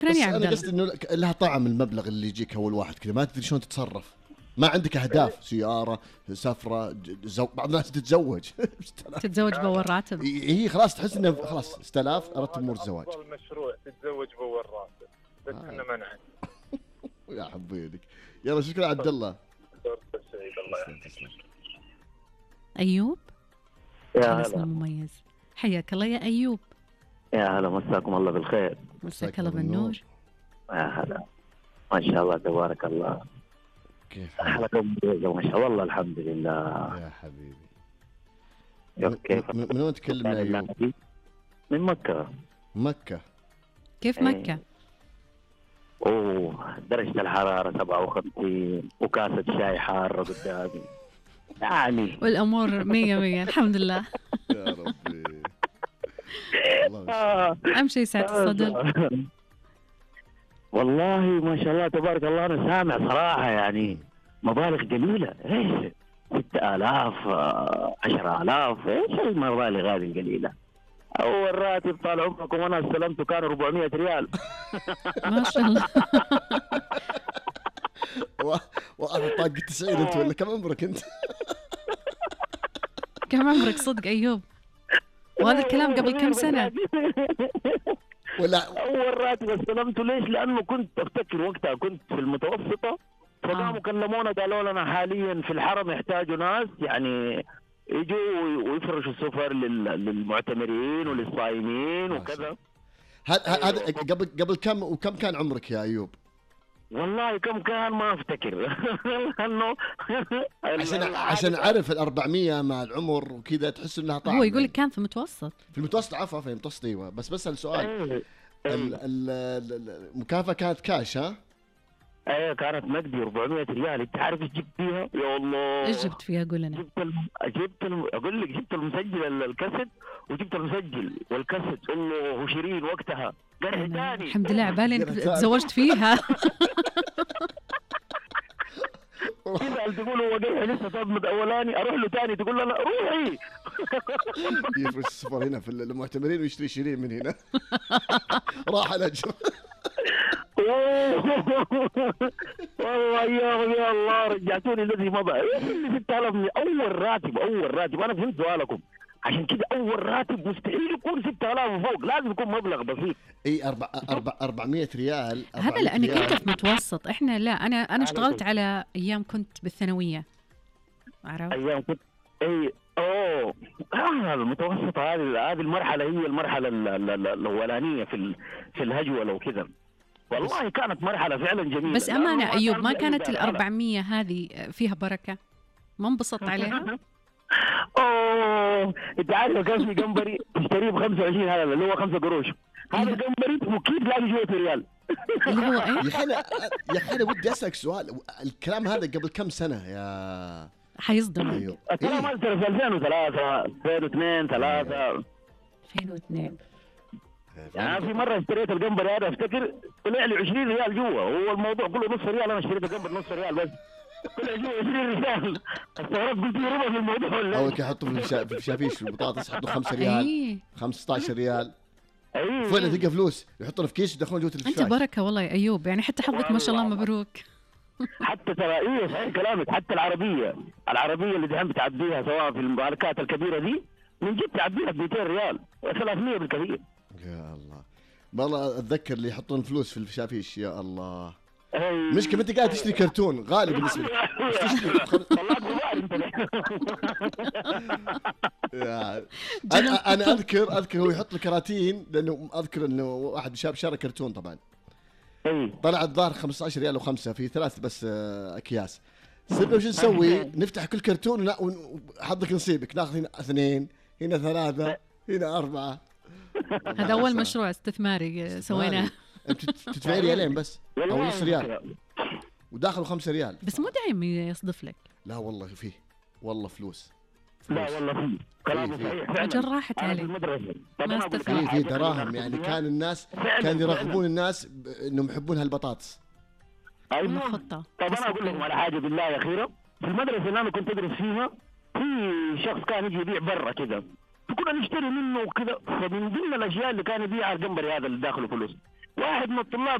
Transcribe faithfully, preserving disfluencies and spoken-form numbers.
شكرا بس يا عبد انا الله. قصدي انه لها طعم المبلغ اللي يجيك اول واحد كذا، ما تدري شلون تتصرف، ما عندك اهداف، سياره، سفره، زو... بعض الناس تتزوج تتزوج بأول راتب. هي خلاص تحس انه خلاص استلاف ارتب امور الزواج. افضل مشروع تتزوج بأول راتب، بس آه. احنا ما نعرف. يا حبيبك، يلا شكرا عبد الله. فرصة سعيدة، الله يحفظك. تسلم. أيوب يا الاسم هلا المميز، حياك الله يا أيوب. يا هلا، مساكم الله بالخير. مساك الله بالنور. يا هلا، ما شاء الله تبارك الله. كيف حالك حلقة ممتازة ما شاء الله. والله الحمد لله. يا حبيبي؟ كيف من من وين تكلمنا يا أيوب؟ من مكة. مكة. كيف إيه. مكة؟ اوه درجة الحرارة سبعة وخمسين وكاسة شاي حارة قدامي يعني. والأمور مية مية الحمد لله. يا ربي. الله آه. أهم شيء سعة الصدر. والله ما شاء الله تبارك الله. أنا سامع صراحة يعني مبالغ جميلة. إيش ستة آلاف عشرة آلاف، إيش المبالغ هذه القليلة؟ أول راتب طال عمركم وأنا استلمته كان أربعمية ريال. ما شاء الله. وأنا طاق تسعين أنت ولا كم عمرك أنت؟ كم عمرك صدق أيوب؟ وهذا الكلام قبل كم سنة؟ ولا أول راتب استلمته. ليش؟ لأنه كنت أفتكر وقتها كنت في المتوسطة، فقاموا كلمونا قالوا لنا حاليا في الحرم يحتاجوا ناس يعني يجوا ويفرشوا السفر للمعتمرين وللصائمين وكذا. هذا قبل قبل كم وكم كان عمرك يا أيوب؟ والله كم كان ما افتكر. لانه عشان عشان اعرف الأربعمية مع العمر وكذا تحس انها طعم. هو يقول لك كان في المتوسط. في المتوسط عفوا في المتوسط ايوه. بس بسأل سؤال، المكافأة كانت كاش ها؟ ايه كانت نقدي أربعمية ريال. انت عارف ايش جبت فيها؟ يا الله ايش جبت فيها؟ قول لنا. جبت الم... جبت الم... اقول لك جبت المسجل الكاسيت وجبت المسجل والكاسيت. الله شيرين وقتها قرح ثاني. الحمد لله عبالي انك تزوجت فيها. كذا تقول هو قرح لسه صدمة اولاني، اروح له ثاني تقول له لا روحي. يفرش السفر هنا في المعتمرين ويشتري شيرين من هنا. راح الاجر. والله يا يا الله رجعتوني الذي مضى. ستة آلاف اول راتب. اول راتب انا فهمت سؤالكم، عشان كده اول راتب مستحيل يكون ستة آلاف وفوق، لازم يكون مبلغ بسيط. اي أربع أربع أربعمية ريال. هذا لانك انت في متوسط، احنا لا. انا انا اشتغلت على ايام كنت بالثانويه، عرفت؟ ايام كنت اي اوه آه المتوسط. هذه هذه المرحله هي المرحله الاولانيه في في الهجوله وكذا. والله كانت مرحله فعلا جميله. بس امانه ايوب ما كانت الأربعمية هذه فيها بركه؟ ما انبسطت عليها؟ اوه انت عارف كان في جمبري تشتريه ب خمسة وعشرين هذا اللي هو خمسة قروش. هذا الجمبري مكيف لاقي جوه ريال. اللي هو ايه؟ يا اخي انا يا اخي انا ودي اسالك سؤال، الكلام هذا قبل كم سنه يا حيصدمك؟ أيوه. الكلام هذا في ألفين وثلاثة ألفين واثنين ثلاثة ألفين واثنين. يعني في مره اشتريت الجمبري هذا افتكر طلع لي عشرين ريال جوا. هو الموضوع كله نص ريال، انا اشتريت الجمبري نص ريال بس طلع جوا عشرين ريال. استغربت قلت ربع في الموضوع ولا اول كي يحطوا في في الشافيش في البطاطس يحطوا خمسة ريال أيه. خمسة عشر ريال. ايوه فعلا تلقى فلوس يحطوا في كيس يدخلون جوه الفشاش. انت بركه والله يا ايوب، يعني حتى حظك ما شاء الله مبروك. حتى ترى ايه صحيح كلامك. حتى العربيه العربيه اللي دحين بتعديها سواء في المباركات الكبيره دي من جد تعديها ب مئتين ريال ثلاثمية بالكثير. يا الله والله اتذكر اللي يحطون فلوس في الشافيش. يا الله أي. مشكلة انت قاعد تشتري كرتون غالي بالنسبه لك. انا انا اذكر اذكر هو يحط الكراتين، لانه اذكر انه واحد شاب شارى كرتون طبعا. اي طلع الظاهر خمسة عشر ريال وخمسة في ثلاث بس اكياس. صرنا وش نسوي؟ نفتح كل كرتون وحظك نصيبك، ناخذ هنا اثنين هنا ثلاثة هنا أربعة. هذا أول مشروع استثماري سويناه. أنت تدفعي ريالين بس أو نص ريال وداخل خمسة ريال. بس مو دايم يصدف لك. لا والله فيه والله فلوس. لا والله فيه كلام صحيح. أجل راحت علي. ما استفدت. في دراهم يعني كان الناس كان يرغبون الناس إنهم يحبون هالبطاطس. أيوة. خطة. طب أنا أقول لكم على حاجة بالله أخيرا. في المدرسة اللي أنا كنت أدرس فيها في شخص كان يجي يبيع برا كذا، فكنا نشتري منه وكذا. فمن ضمن الأشياء اللي كان يبيعها الجمبري هذا اللي داخله فلوس. واحد من الطلاب